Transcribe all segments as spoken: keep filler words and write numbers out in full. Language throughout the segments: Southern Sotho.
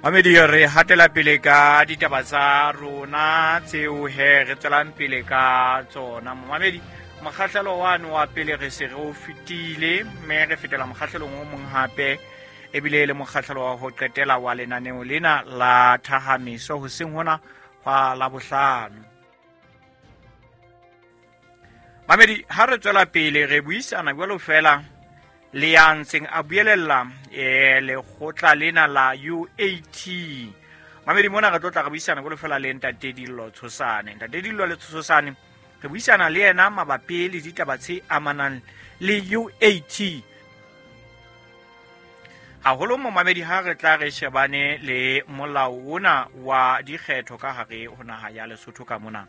Mamedi, re hatela pele ka ditaba tsa rona tseo he re tswelang pele ka tsona. Mamedi, mokgahlelo wane wa pele re se re o fetile, mme re fetela mokgahlelong o mong hape, ebile le mokgahlelo wa ho qetela wa lenaneo lena la Thahamiso hoseng hona hwa Labohlano. Mamedi, ha re tswela pele re buisana jwalo fela le ya ntseng a buelella eh lekgotla lena la U A T. Mamedi, mona re tlo tla re buisana jwalo fela le Ntate Dillo Tshosane. Ntate Dillo le Tshosane re buisana le yena mabapi le ditaba tse amanang le U A T. Haholo momamedi ha re tla re shebane le molao ona wa dikgetho ka hare ho naha ya Lesotho ka mona.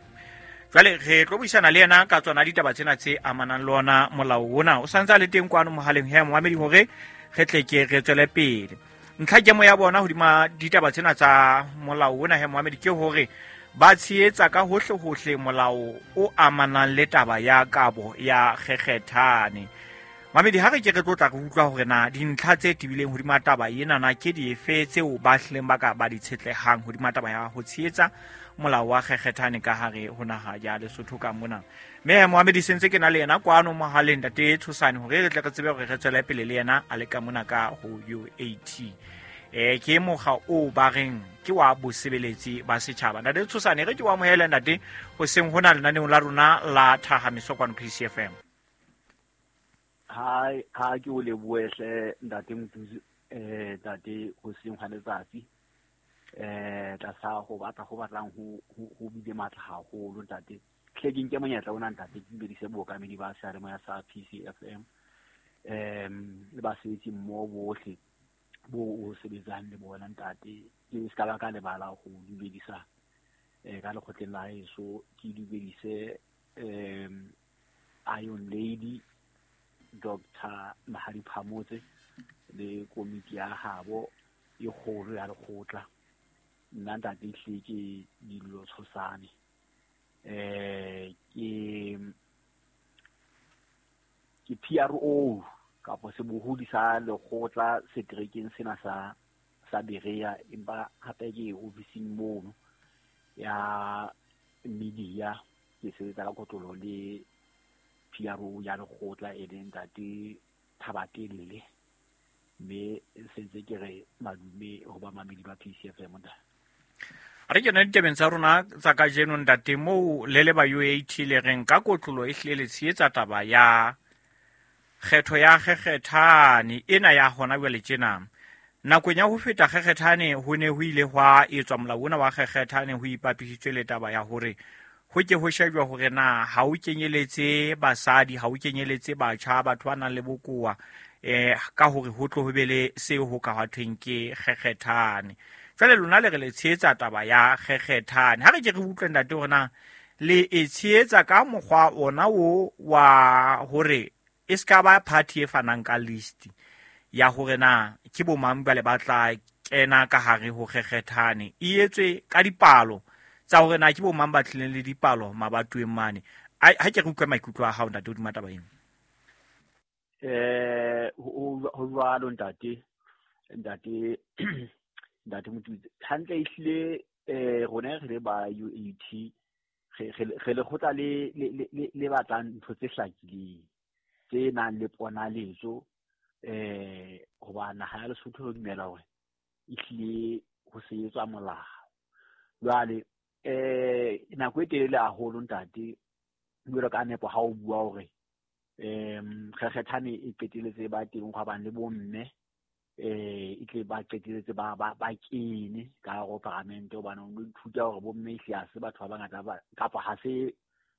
Jwale re tlo buisana le yena ka tsona ditaba tsena tse amanang le ona molao ona. O santse a le teng kwano mohaleng he momamedi hore re tle ke re tswele pele. Ntlha kemo ya bona hodima ditaba tsena tsa molao ona he momamedi ke hore ba tshehetsa ka hohle hohle molao o amanang le taba ya kabo ya kgekgethane. Mamedi, ha re ke re tlo tla re utlwa hore na dintlha tse tebileng hodima taba ena na ke dife tseo ba hlileng ba ka ba di tshetlehang hodima taba ya ho tshehetsa molao wa kgekgethane ka hare ho naha ya Lesotho ka mona. Mme Mohamedi sentse ke na le yena kwano mohaleng Ntate Tshosane hore re tle re tsebe hore re tswele pele le yena a le ka mona ka ho U A T. Eh ke mokga o ba reng ke wa bosebeletsi ba setjhaba. Ntate Tshosane, re ke wa amohele ntate hoseng hona lenaneong la rona la Thahamiso kwano P C F M. Ha ha ke o lebohe ntate Mothusi, eh ntate hoseng hwa letsatsi. Eh tlasa ho batla ho batlang ho ho bile matla haholo ntate. Hle ke nke monyetla ona ntate ke dumedise bookamedi ba seyalemoya sa P C F M. Em le basebetsi mmoho bohle bo o sebetsang le bona ntate. Ke se ka ba ka lebala ho dumedisa eh ka lekgotleng la heso, ke dumedise em Iron Lady Doctor Mahadi Phamotse le komiti ya habo e kgolo ya lekgotla. Nna ntate hle ke Dillo Tshosane. Eh ke ke P R O kapa sebohodi sa lekgotla seterekeng sena sa sa Berea, empa hape ke ofising mono ya media, ke sebetsa ka kotlolo le P R O ya lekgotla e leng ntate Thabatelle. Mme sentse ke re madume ho ba mamedi ba P C F M ntate. A re kena ditabeng tsa rona tsa kajeno ntate, moo le le ba U A T le reng ka kotlolo e hlile le tshehetsa taba ya kgetho ya kgekgethane ena ya hona jwale tjena. Nakong ya ho feta kgekgethane ho ne ho ile hwa etswa molao ona wa kgekgethane ho ipapisitswe le taba ya hore ho ke ho shejwa hore na ha o kenyeletse basadi, ha o kenyeletse batjha, batho ba nang le bokowa, eh ka hore ho tlo ho be le seo ho ka thweng ke kgekgethane. Jwale lona le re le tshehetsa taba ya kgekgethane. Ha re ke re utlwe ntate hore na le e tshehetsa ka mokgwa ona o wa hore e ska ba party e fanang ka list ya hore na ke bo mang ba le batla kena ka hare ho kgekgethane, e etswe ka dipalo tsa hore na ke bo mang ba tlileng le dipalo mabatoweng mane. Ha ke re utlwe maikutlo a hao ntate hodima taba eno. Eh ho jwalo ntate, ntate ntate Mothusi, hantle ehlile eh rona re le ba U A T re re lekgotla le le le batlang ntho tse hlakileng tse nang le ponaletso, eh hoba naha ya Lesotho re dumela hore ehlile ho sebetswa molao. Jwale eh nako e telele haholo ntate, jwalo ka nepo ha o bua hore em kgekgethane e qeteletse ba teng hwa bang le bomme, eh e tle ba qeteletse ba ba ba kene ka hare ho paramente, hobane o ithuta hore bomme ehlile ha se batho ba bangata ba kapa ha se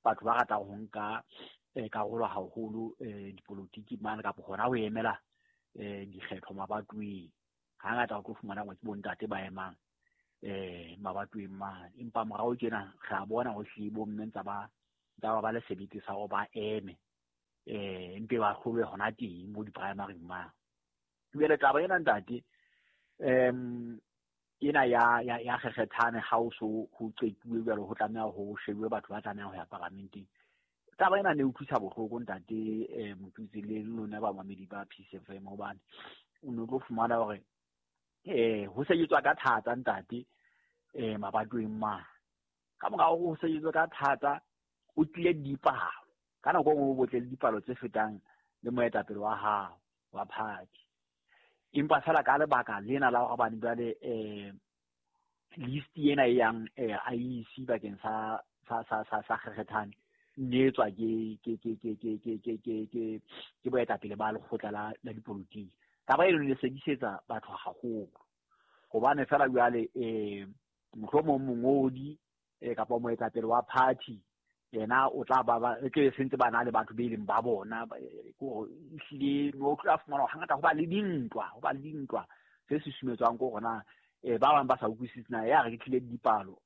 batho ba ratang ho nka karolo haholo eh dipolotiki mane kapa hona ho emela eh dikgetho mabatoweng. Hangata o tlo fumana hore ke bontate ba emang eh mabatoweng mane, empa morao tjena re a bona ho hlile bomme ntsa ba ntsa ba le sebete sa hore ba eme eh mpe ba hlolwe hona teng mo di-primary mane. Jwale taba ena ntate em ena ya ya ya kgekgethane ha o so ho qetuwe jwalo, ho tlameha ho shebuwe batho ba tlamehang ho ya paramenteng. Taba ena ne utlwisa bohloko ntate eh Mothusi le lona ba mamedi ba P C F M, hobane o no tlo fumana hore eh ho sebetswa ka thata ntate eh mabatoweng mane. Ka mora hore ho sebetswa ka thata o tlile dipalo ka nako e nngwe o botle le dipalo tse fetang le moetapele wa hao wa party. Empa fela ka lebaka lena la hore hobane jwale eh list ena e yang eh I E C bakeng sa sa sa sa sa kgethane nne etswa ke ke ke ke ke ke ke ke ke ke boetapele ba lekgotla la la dipolotiki. Taba eno ne sedisetsa batho haholo hobane fela jwale eh mohlomong mongodi eh kapa moetapele wa party yena o tla ba ba ke sentse ba na le batho be leng ba bona ko ehlile no tla fumana hangata ho ba le dintwa ho ba le dintwa tse susumetswang ko rona eh ba bang ba sa utlwisise na ya re ke tlile dipalo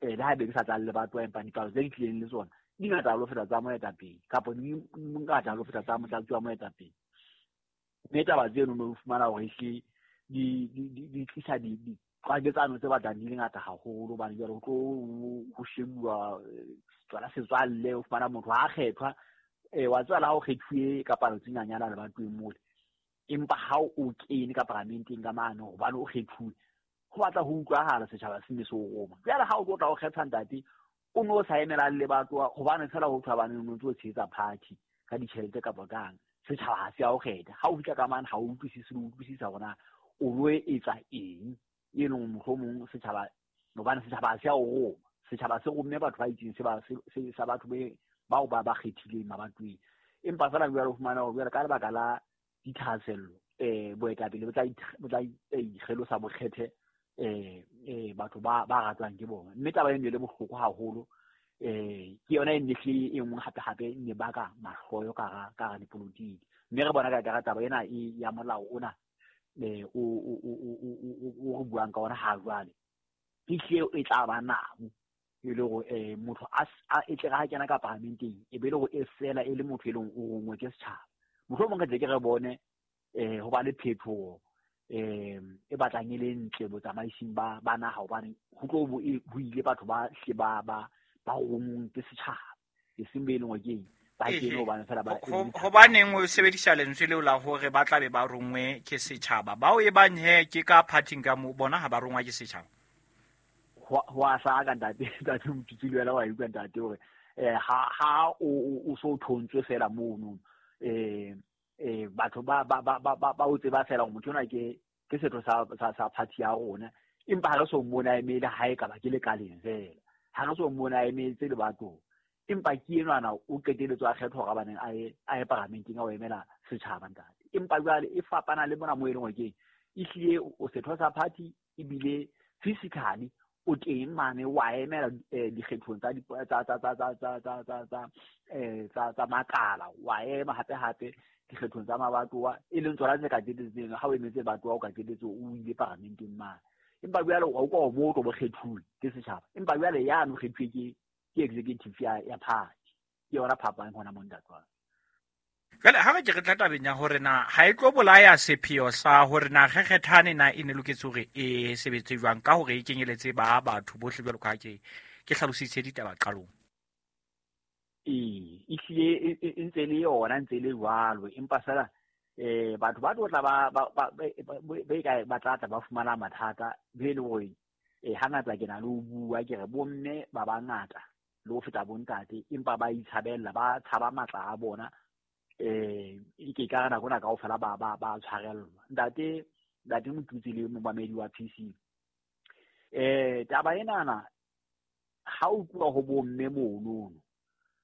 eh le haebe ke sa tla le batho empa dipalo tse di tlileng le tsona di ngata lo feta tsa moetapele kapa di ngata lo feta tsa motlatsi wa moetapele. Mme taba tseno no fumana hore ehlile di di di tlisa di qwaketsano tse batlang di le ngata haholo hobane jwale ho tlo ho shebuwa tsona setswalle o fumana motho ha kgethwa eh wa tswala ha o kgethuwe ka palo tse nyanyana le batho mole empa ha o kene ka paramenteng ka mane hobane o kgethuwe ho batla ho utlwahala setjhaba se ne se o roma. Jwale ha o tlo tla o kgetha ntate o no sa emela le batho hobane fela ho thwa bane o ntse o tshehetsa party ka ditjhelete kapa kang setjhaba ha se a o kgetha. Ha o fihla ka mane ha o utlwisise le utlwisisa hore na o lo etsa eng e leng mohlomong setjhaba hobane setjhaba ha se a o roma. Setjhaba se romme batho ba itseng se ba se sa batho be bao ba ba kgethileng mabatoweng. Empa fela jwale o fumana hore jwale ka lebaka la dithahasello eh boetapele bo tla bo tla ikgelosa bokgethe eh eh batho ba ba ratwang ke bona. Mme taba eno e le bohloko haholo eh ke yona e nne hle e nngwe hape hape ne baka mahloyo ka ra ka ra dipolotiki. Mme re bona ka ka taba ena e ya molao ona eh o o o o o re buang ka ona ha jwale e hle e tla ba nabo e le hore eh motho a e tle ha kena ka paramenteng e be le hore e fela e le motho e leng o rongwe ke setjhaba. Mohlomong re tle ke re bone eh ho ba le phetoho eh e batlang e le ntle botsamaising ba ba naha hobane ho tlo bo ho ile batho ba hle ba ba ba rongweng ke setjhaba e seng be e leng hore ke ba kene hobane fela ba hobaneng o sebedisa lentswe leo la hore ba tla be ba rongwe ke setjhaba bao e bang he ke ka party ka mo bona ha ba rongwa ke setjhaba ho a hlaka ntate ntate Motutsi le wena wa utlwa ntate hore eh ha ha o o so thontswe fela mono eh eh batho ba ba ba ba ba o tseba fela hore motho ona ke ke setho sa sa sa party ya rona empa ha re so mmona emele ha e ka ba ke lekaleng fela ha re so mmona emetse le batho empa ke enwana o qeteletswe a kgethwa hore baneng a ye a ye paramenteng a o emela setjhaba ntate. Empa jwale e fapana le mona mo e leng hore ke ehlile o setho sa party ebile physically o teng mane wa emela dikgethong tsa tsa tsa tsa tsa tsa tsa tsa eh tsa tsa makala wa ema hape hape dikgethong tsa mabatowa e leng tsona tse ka qetelletseng ha o emetse batowa o ka qetelletse o ile paramenteng mane. Empa jwale o utlwa mo o tlo bo kgethuwe ke setjhaba empa jwale yano kgethuwe ke ke executive ya ya party ke yona phapang hona mo ntate wa. Jwale ha re ke re tla tabeng ya hore na ha e tlo bolaya sepheo sa hore na kgethane na e ne loketse hore e sebetse jwang ka hore e kenyeletse ba batho bohle jwalo ka ke ke hlalositse ditaba qalong. Ee ehlile e ntse le yona ntse le jwalo empa fela eh batho ba tlo tla ba ba ba ka ba tla tla ba fumana mathata be le hore eh hangata ke na le ho bua ke re bomme ba bangata le ho feta bontate empa ba itshabella ba tshaba matla a bona eh ke ka nako na kaofela ba ba ba tshwarellwa. Ntate ntate Motutsi le momamedi wa P C eh taba enana ha o tloha ho bomme mono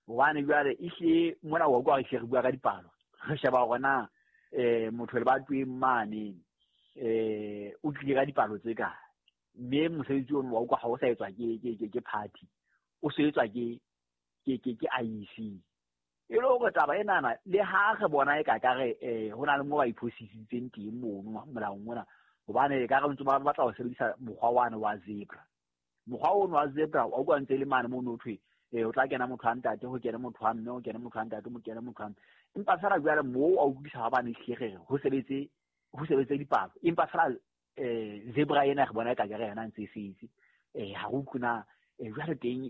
hobane jwale ehle mona wa utlwa re bua ka dipalo re sheba hore na eh motho le ba tweng mane eh o tlile ka dipalo tse kae mme mosebetsi ono wa utlwa ha o sa etswa ke ke ke party o se etswa ke ke ke ke I E C. E le hore taba enana le ha re bona e ka ka re eh ho na le mo ba iphosisitseng teng mono molaong ona hobane ka re ntse ba batla ho sebedisa mokgwa wane wa zebra. Mokgwa ono wa zebra wa utlwa ntse le mane mono thwe eh o tla kena motho a ntate ho kene motho a mme ho kene motho a ntate ho kene motho a mme empa fela jwale moo a utlwisa ha bane hle ho sebetse ho sebetse dipalo empa fela eh zebra ena re bona e ka re yona ntse e setse eh ha re utlwe na jwale teng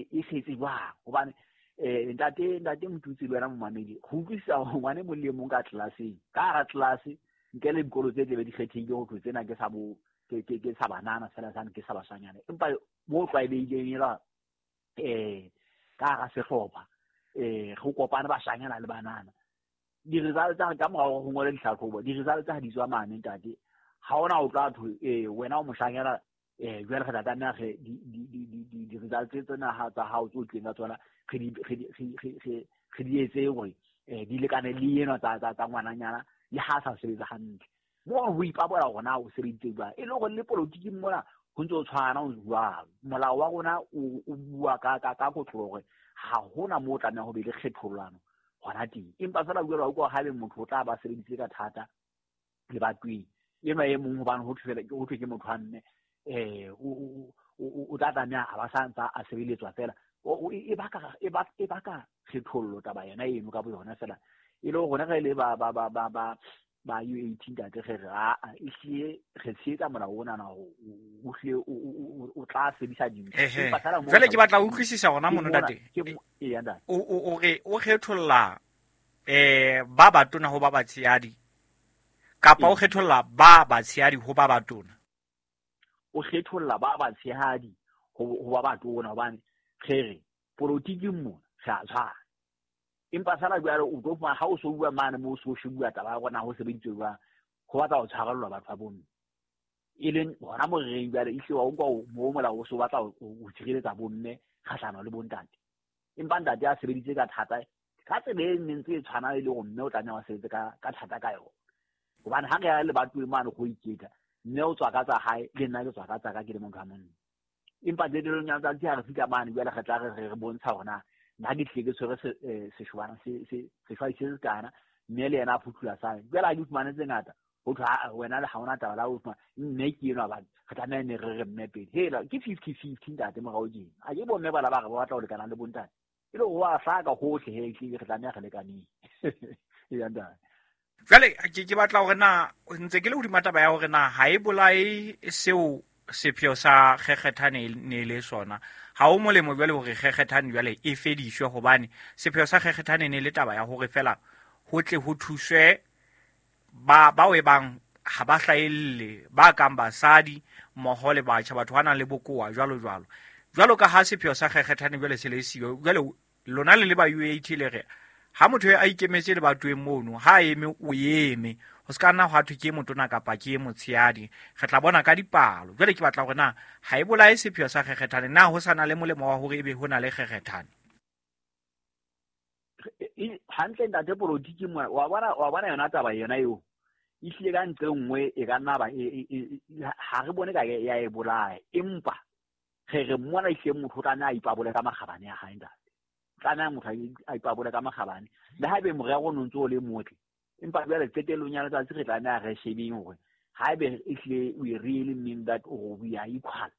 e setse jwang hobane eh ntate ntate Motutsi le wena momamedi ho utlwisisa ngwane mong le mong ka tlelaseng ka hara tlelase Ntle le dikolo tse tlebe di kgethehile ho thwe tsena ke sa bo ke ke ke sa banana fela sane ke sa bashanyana, empa mo tlwaelehileng ela eh ka hara sehlopha eh go kopana bashanyana le banana. Di-result tsa ka morao ho ngola dihlahlobo, di-result tsa ha di tswa mane ntate, ha hona o tla thwe eh wena o moshanyana eh jwale re tla tlameha re di-result tsena ha tsa hao tse tlileng ka tsona re di re di re di etse hore eh di lekane le ena tsa tsa tsa ngwananyana le ha sa sebetsa hantle. Mo ho ipabola hore na o sebeditse jwang, e le hore le politiking mona ho ntse o tshwana o jwalo. Molao wa rona o bua ka ka ka kotlo hore ha hona moo o tlameha ho be le kgethollano hona teng, empa fela jwale wa utlwa haebe motho o tla ba sebeditse ka thata lebatoweng enwa e mong, hobane ho thwe ho thwe ke motho wa mme eh o o tla tlameha a ba sa ntsa a sebeletswa fela. E baka e baka e baka kgethollo taba yona eno ka boyona fela. E le hore re le ba ba ba ba ba ba U A T ntate re re a ehlile re tshehetsa molao ona na o hlile o tla sebedisa dintho. Jwale ke batla ho utlwisisa hona mono ntate, o o re o kgetholla eh ba batona ho ba batshehadi kapa o kgetholla ba batshehadi ho ba batona? O kgetholla ba batshehadi ho ba batona, hobane re re politiking mona re a tshwana. Empa fela jwale o tlo fumana ha o so bua mane moo o so bua taba ya hore na ho sebeditswe jwang, ho batla ho tshwarellwa batho ba bomme. E leng hona mo re reng jwale ehlile wa utlwa moo molao o so batla ho tshireletsa bomme kgahlano le bontate. Empa ntate a sebeditse ka thata ka tsela e neng ntse e tshwana e le hore mme o tlameha ho sebetse ka ka thata ka yona. Hobane ha re ya lebatoweng mane go iketla, mme o tswa ka tsa hae le nna ke tswa ka tsa ka ke le motho wa monna. Empa qetellong ya letsatsi ha re fihla mane jwale re tla re re bontsha hore na nna ke tlile ke tshwere seshobana se se seshwai se sekana, mme le yena a phuthula sa jwale ha ke fumane tse ngata ho thwe wena le ha hona taba la ho fumana mme ke enwa bana re tlameha ne re re mme pele. Hela ke fifty fifty ntate morao tjena, a ke bomme bana ba re ba batla ho lekana le bontate, e le ho a hlaka hohle he ehlile re tlameha re lekaneng. Eya ntate. Jwale ke ke batla hore na ntse ke le hodima taba ya hore na ha e bolae seo sepheo sa kgekgethane ne le sona. Ha o molemo jwale hore kgekgethane jwale e fediswe, hobane sepheo sa kgekgethane ne le taba ya hore fela ho tle ho thuswe ba bao e bang ha ba hlahelle, ba kang basadi mmoho le batjha, batho ba nang le bokowa jwalo jwalo. Jwalo ka ha sepheo sa kgekgethane jwale se le siyo, jwale lona le le ba U A T le re ha motho a ikemetse lebatoweng mono, ha eme o eme, ho ska nna hwa thwe ke motona kapa ke motshehadi, re tla bona ka dipalo. Jwale ke batla hore na ha e bolae sepheo sa kgekgethane, na ho sa na le molemo wa hore ebe ho na le kgekgethane? Hantle ntate politiki mona wa bona wa bona yona taba yona eo ehlile ka ntle nngwe e ka nna ba ha re bone ka ya e bolaya, empa re re mona ehlile motho o tlameha a ipabole ka makgabane a hae ntate. Tlameha motho a ipabole ka makgabane le haebe morero o ntse o le motle, empa jwale qetellong ya letsatsi re tlameha re shebeng hore haebe ehlile we really mean that or we are equal,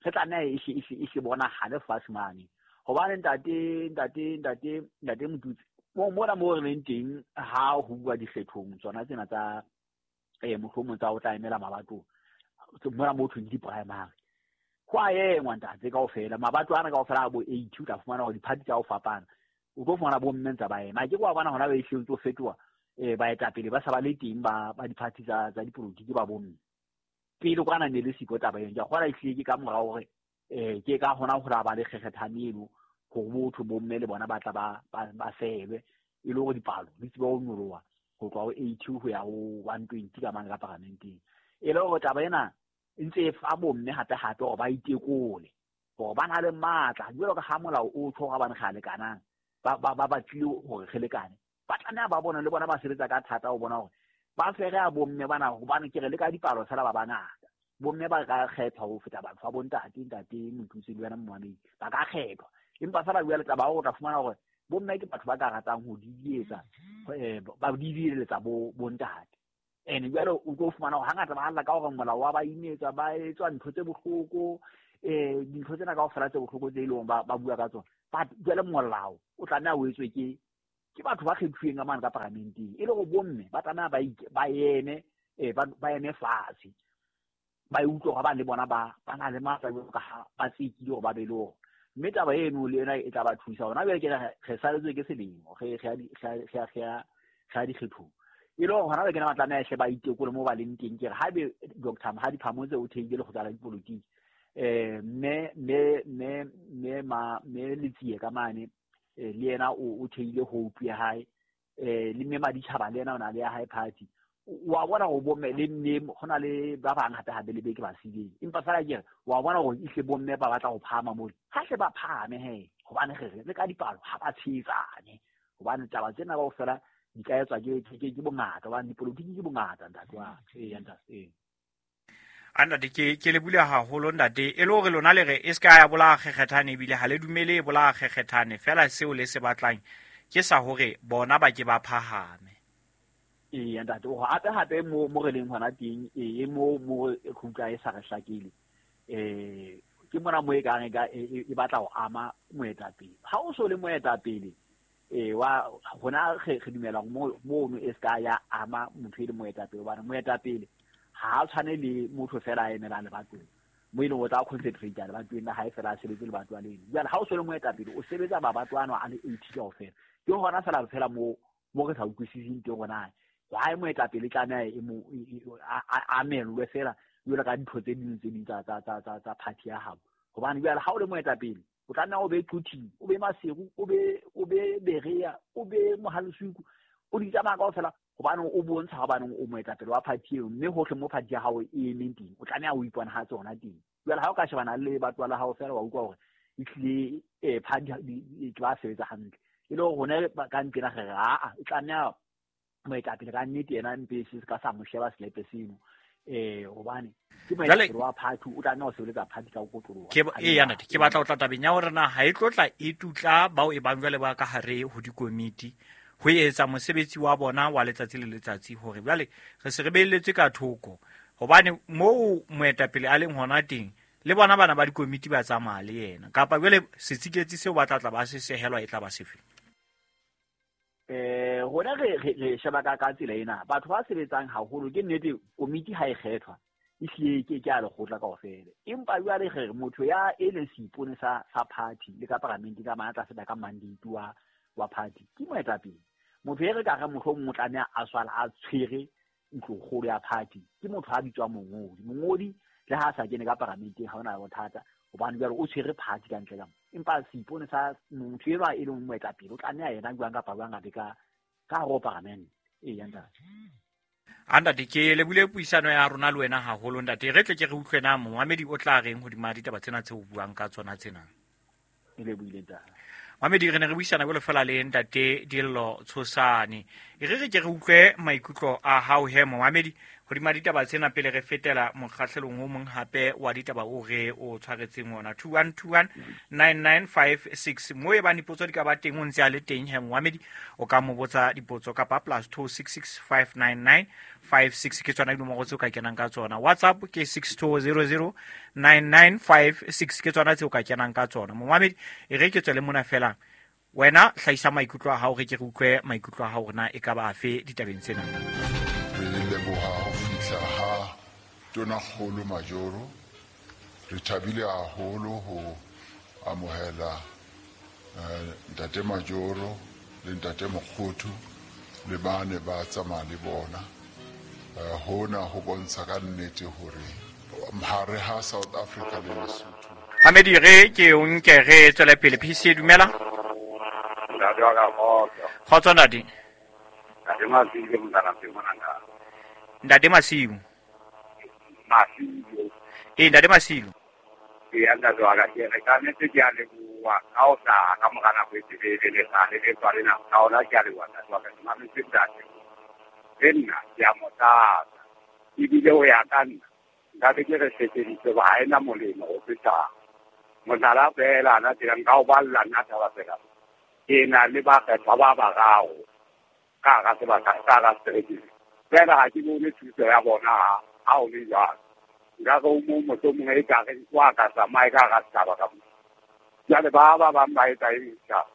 re tlameha ehle ehle ehle bonahale fatshe mane. Hobane ntate ntate ntate ntate Motutsi mo mona mo re leng teng ha ho bua dikgethong tsona tsena tsa eh mohlomong tsa ho tla emela mabato mona mo thweng di-primary, ho a engwa ntate kaofela mabato ana kaofela a bo eighty, o tla fumana hore di-party tsa ho fapana, o tlo fumana bo mme ntsa ba ema. Ke wa bona hona ba ehlile ntse o fetoha eh baetapele ba sa ba le teng ba ba di-party tsa tsa dipolotiki ba bomme. Pele kwana ne le siko taba eno, ke a kgolwa ehlile ke ka morao hore eh ke ka hona ho la ba le kgekgethane eno hore botho bomme le bona ba tla ba ba sebe e le hore dipalo di tsebe ho nyoloha ho tloha ho eighty ho ya ho one twenty ka mane ka paramenteng. E le hore taba ena e ntse e fa bomme hape hape hore ba itekole hore ba na le matla jwalo ka ha molao o tjho hore bane re a lekanang, ba ba ba batlile hore re lekane, ba tlameha ba bona le bona ba sebetsa ka thata ho bona hore ba fere a bomme bana, hobane ke re le ka dipalo fela ba bangata. Bomme ba ka kgethwa ho feta batho ba bontate ntate Motutsi le wena Mohamedi ba ka kgethwa, empa fela jwale taba ya hore o tla fumana hore bomme ke batho ba ka ratang ho didietsa ba didieletsa bo bontate. Ene jwale o tlo fumana hore hangata ba lla ka hore molao wa ba imetsa, ba etswa ntho tse bohloko eh dintho tsena kaofela tse bohloko tse eleng ba ba bua ka tsona. But jwale molao o tlameha o etswe ke ke batho ba kgethuweng ka mane ka paramenteng, e le hore bomme ba tlameha ba ba eme eh ba ba eme fatshe ba utlwe hore ba le bona ba ba na le matla jwalo ka ha ba tsekile hore ba be le ona. Mme taba eno le yona e tla ba thusa hona jwale ke re saletswe ke selemo re re re re re dikgethong. E le hore hona le kena ba tlameha hle ba itekole mo ba leng teng. Ke re haebe Doctor Mahadi Phamotse o theile lekgotla la dipolotiki, eh mme mme mme mme ma mme Letsie ka mane le yena o theile Hope ya hae, eh le mme Maditjhaba le yena o na le ya hae party. Wa bona go bomme le mme go na le ba bang hape hape le beke ba sileng, empa fela ke re wa bona gore ihle bomme ba batla go phahama mole, ha hle ba phahame he, hobane re re le ka dipalo ha ba tshehetsane, hobane taba tsena kaofela di ka etswa ke ke ke bongata, hobane dipolotiki ke bongata ntate wa ka. Ee, ntate, ee. A ntate, ke ke le bula haholo ntate, e le hore lona le re e se ka ya bolaya kgekgethane, ebile ha le dumele e bolaya kgekgethane, fela seo le se batlang ke sa hore bona ba ke ba phahame. Ee ntate, o hape hape mo mo re leng hona teng, ee mo mo khutla e sa re hlakile, eh ke mona mo e kang e ka e batla ho ama moetapele. Ha o so le moetapele, eh wa hona re re dumela mo mo e ska ya ama motho e le moetapele, hobane moetapele ha a tshwane le motho fela a emelang lebatong mo e leng o tla concentrate lebatong la hae fela a sebetse lebato a leng. Jwale ha o so le moetapele o sebetsa mabato ano a le eighty kaofela, ke hona fela fela mo mo re sa utlwisiseng teng hona why moetapele tlameha e mo a amelwe fela jwalo ka dintho tse ding tse ding tsa tsa tsa tsa tsa party ya hao. Hobane jwale ha o le moetapele o tlameha o be Quthing, o be Maseru, o be o be Berea, o be Mohalesuku, o di tsamaya kaofela, hobane o bontsha hobane o moetapele wa party eo, mme hohle mo party ya hao e emeng teng o tlameha o iponahatse hona teng. Jwale ha o ka shebana le batho la hao fela wa utlwa hore ehlile eh party ke ba sebetsa hantle, e le hore hona ka ntlena re re aa e tlameha moetapele ka nnete yena mpe se ka sa mo sheba selepe seno, eh hobane ke moetapele wa party, o tlameha ho sebeletsa party ka ho kotloloha. Ke ee ntate, ke batla ho tla tabeng ya hore na ha e tlotla e tutla bao e bang jwale ba ka hare ho dikomiti ho etsa mosebetsi wa bona wa letsatsi le letsatsi, hore jwale re se re beelletswe ka thoko, hobane moo moetapele a leng hona teng le bona bana ba dikomiti ba tsamaya le yena, kapa jwale setsiketsi seo ba tla tla ba se sehelwa e tla ba sefe? Eh rona re re sheba ka ka tsela ena, batho ba sebetsang haholo ke nnete komiti ha e kgethwa ehlile ke ke a lekgotla kaofela, empa jwale re re motho ya e leng seipone sa sa party le ka paramente ka mana tla feta ka mandate wa wa party ke moetapele. Motho e re ka re mohlomong o tlameha a swala a tshwere ntlokgolo ya party ke motho a bitswang mongodi. Mongodi le ha a sa kene ka paramenteng ha hona bothata, hobane jwale o tshwere party ka ntle ka mo, empa seipone sa motho enwa e leng moetapele o tlameha yena jwang kapa jwang a be ka ka hare ho paramente. Ee ntate. A ntate, ke lebile puisano ya rona le wena haholo ntate, re tle ke re utlwe na momamedi o tla reng hodima ditaba tsena tseo o buang ka tsona tsena. E lebohile ntate. Mamedi, re ne re buisana jwalo fela le ntate Dillo Tshosane. E re re ke re utlwe maikutlo a hao he momamedi hodima ditaba tsena pele re fetela mokgahlelong o mong hape wa ditaba o re o tshwaretseng ona. Two one two one nine nine five six. Mo e bang dipotso di ka ba teng o ntse a le teng he momamedi, o ka mo botsa dipotso kapa plus two six six five nine nine five six ke tsona dinomoro tseo ka kenang ka tsona. WhatsApp ke six two zero zero nine nine five six ke tsona tseo ka kenang ka tsona. Momamedi, e re ke tswele mona fela, wena hlahisa maikutlo a hao, re ke re utlwe maikutlo a hao hore na e ka ba afe ditabeng tsena. Re leboha ho fihla ha Tonakgolo Majoro. Re thabile haholo ho amohela ntate Majoro le ntate Mokgothu le bane ba tsamaya le bona. Hona ho bontsha ka nnete hore hare ha South Africa le Lesotho. Hamedi, re ke o nke re tswele pele. P C, dumela. Ntate wa ka kgotso. Kgotso ntate. Ntate Masiu, mntana mona ntate. Ntate Masiu. Masiu. Eh, ntate Masiu. Ee, ntate wa ka, ke re ka nnete ke a leboha ka ho hlaha ka mora nako e telele le sa le le tswa lena ka ona, ke a leboha ntate wa ka, ke mametse ntate. Le nna ke a mo tlatsa, ebile ho ya ka nna nka be ke re sebeditse hoba ha ena molemo ho feta mohlala feela ana tsela nka o balla nna taba fela. Ke na le bakgethwa ba bararo ka hara sebaka ka hara seterekeng fela, ha ke bone thuso ya bona ha ho le jwalo. Nka re o mong mohlomong e ka re wa ka tsamaye ka hara setjhaba ka moo. Jwale ba ba bang ba etsa eng setjhaba?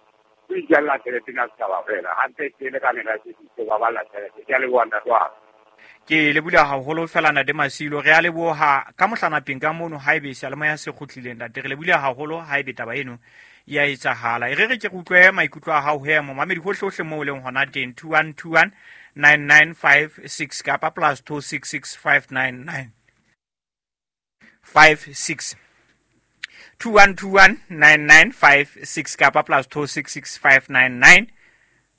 O itjella tjhelete na setjhaba fela, hantle ke le ka nela tshepediso ba balla tjhelete. Ke a leboha ntate wa ka. Ke lebohile haholo fela ntate Masilo, re a leboha ka mohlanapeng ka mono haebe seyalemoya se kgutlileng ntate, re lebohile haholo haebe taba eno ya etsahala. E re re ke re utlwe maikutlo a hao he momamedi hohle hohle moo o leng hona teng. Two one two one nine nine five six kapa plus two six six five nine nine five six two one two one nine nine five six kapa plus two six six five nine nine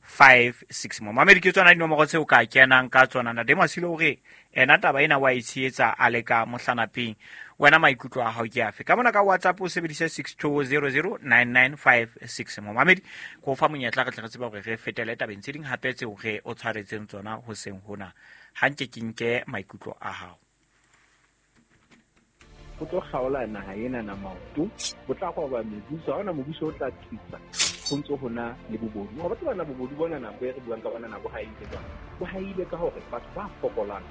five six. Momamedi ke tsona dinomoro tseo ka kenang ka tsona. Ntate Masilo o re ena taba ena wa e tshehetsa a le ka mohlanapeng. Wena maikutlo a hao ke afe? Ka mona ka WhatsApp o sebedise six two zero zero nine nine five six. Momamedi ko fa monyetla re tle re tsebe hore re fetele tabeng tse ding hape tseo re o tshwaretseng tsona hoseng hona. Ha nke ke nke maikutlo a hao. Ho tlo kgaola naha ena na maoto, ho tla roba mebuso, ha hona mobuso o tla thusa. Ho ntso hona le bobodu. Wa batho bana bobodu bona nako e re buang ka bona nako ha e ile jwang. Bo ha ile ka hore batho ba fokolang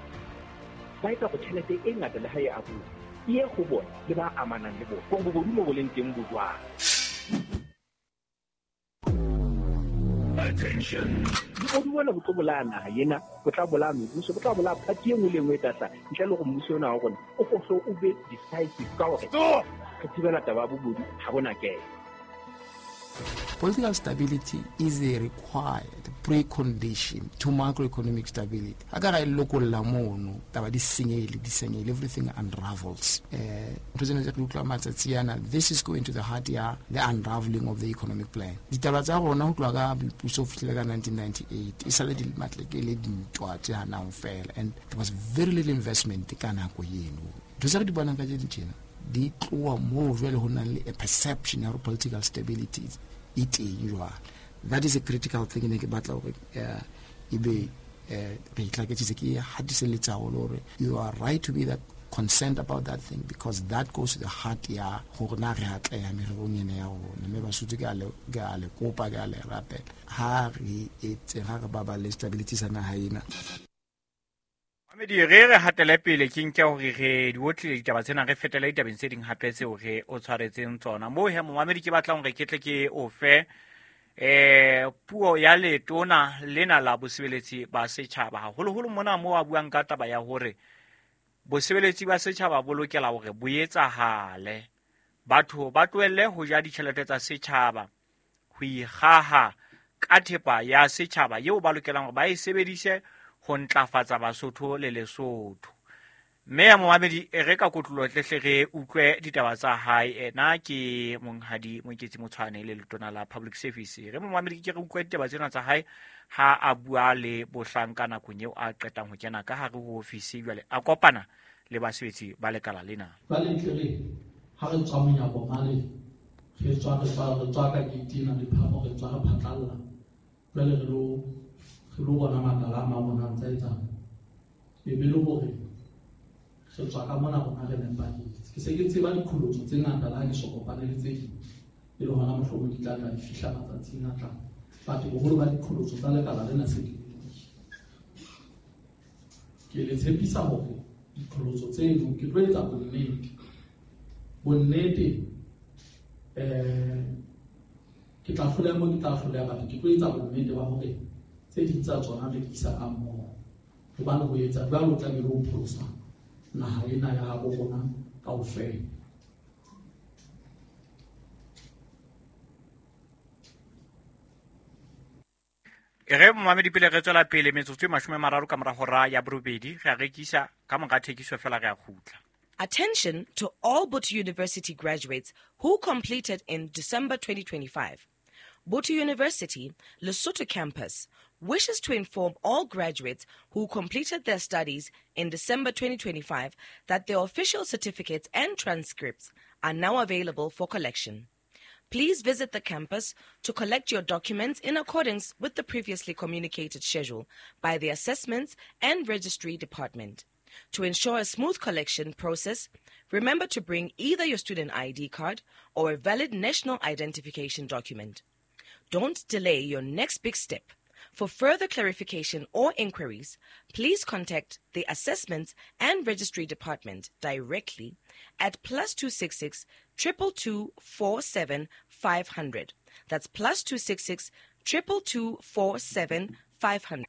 ba etsa go tjhelete e ngata le ha e abuwa e ye ho bona le ba amanang le bona. Hore bobodu mo bo leng teng bo jwang. Attention. Bobodu bona bo tlo bolaya naha ena, bo tla bolaya mebuso, bo tla bolaya party e nngwe le e nngwe e tla hlaha. Ntle le hore mmuso ona wa rona o hlo o be decisive ka hore re thibela taba ya bobodu ha bona kene. Political stability is a required precondition to macroeconomic stability. Ha ka ra e lokolla mono, taba di senyehile, di senyehile, everything unravels. Eh, ntho tsena tse re utlwa matsatsi ana, this is going to the heart ya the unraveling of the economic plan. Ditaba tsa rona ho tloha ka boipuso ho fihlela ka nineteen ninety-eight, e sale di matleke le dintwa tse hanang fela, and there was very little investment ka nako eno. Ntho tse re di bonang ka tjena tjena, di tloha moo jwale ho nang le a perception ya hore political stability e teng jwale. That is a critical thing ne ke batla hore e be re itlhaketsitse ke hatiselletsa haholo hore you are right to be that concerned about that thing because that goes to the heart ya hore na re atleha mererong ena ya rona. Mme Basotho ke a le ke a le kopa, ke a le rapela, ha re etse ha re baballe stability sa naha ena. Mamedi re re hatele pele ke nke hore re di otlile ditaba tsena re fetele ditabeng tse ding hape tseo re o tshwaretseng tsona. Moo he momamedi ke batlang hore ke tle ke o fe eh puo ya letona lena la bosebeletsi ba setjhaba, haholoholo mona moo a buang ka taba ya hore bosebeletsi ba setjhaba bo lokela hore bo etsahale, batho ba tlohelle ho ja ditjhelete tsa setjhaba, ho ikgaha ka thepa ya setjhaba eo ba lokelang hore ba e sebedise ho ntlafatsa Basotho le Lesotho. Mme ya momamedi e re ka kotlolo tlehle re utlwe ditaba tsa hae. Ena ke monghadi Moeketsi Motshwane le letona la Public Service. Re momamedi ke re utlwe ditaba tsena tsa hae ha a bua le bohlanka nakong eo a qetang ho kena ka hare ho ofisi jwale a kopana le basebetsi ba lekala lena. Jwale ntle re ha re tswa monyako male, re tswa re tswa re tswa ka gate ena le phamo, re tswa re phatlalla. Jwale re lo re lo bona makala a mang ona ntse a etsang. E be le hore re tswa ka mona rona re nepahetse. Ke se ke tseba diqholotso tse ngata le ha ke so kopane le tse ding, e le hona mohlomong di tla tla di fihla matsatsing a tlang. Batho boholo ba diqholotso tsa lekala lena se di ke le tshepisa hore diqholotso tseno ke tlo etsa bonnete. Bonnete eh ke tla hloleha mo ke tla hloleha batho, ke tlo etsa bonnete ba hore tse ding tsa tsona re di isa ka mmoho. Hobane ho etsa jwalo o tlamehile ho pholosa naha ena ya habo rona kaofela. E re momamedi pele re tswela pele metsotso e mashome a mararo ka mora hora ya borobedi, re a rekisa ka mora thekiso fela re a kgutla. Attention to all Botho University graduates who completed in December twenty twenty-five. Botho University, Lesotho campus, wishes to inform all graduates who completed their studies in December twenty twenty-five that their official certificates and transcripts are now available for collection. Please visit the campus to collect your documents in accordance with the previously communicated schedule by the Assessments and Registry Department. To ensure a smooth collection process, remember to bring either your student I D card or a valid national identification document. Don't delay your next big step. For further clarification or inquiries, please contact the Assessments and Registry Department directly at plus two six six triple two four seven five hundred. That's plus two six six triple two four seven five hundred.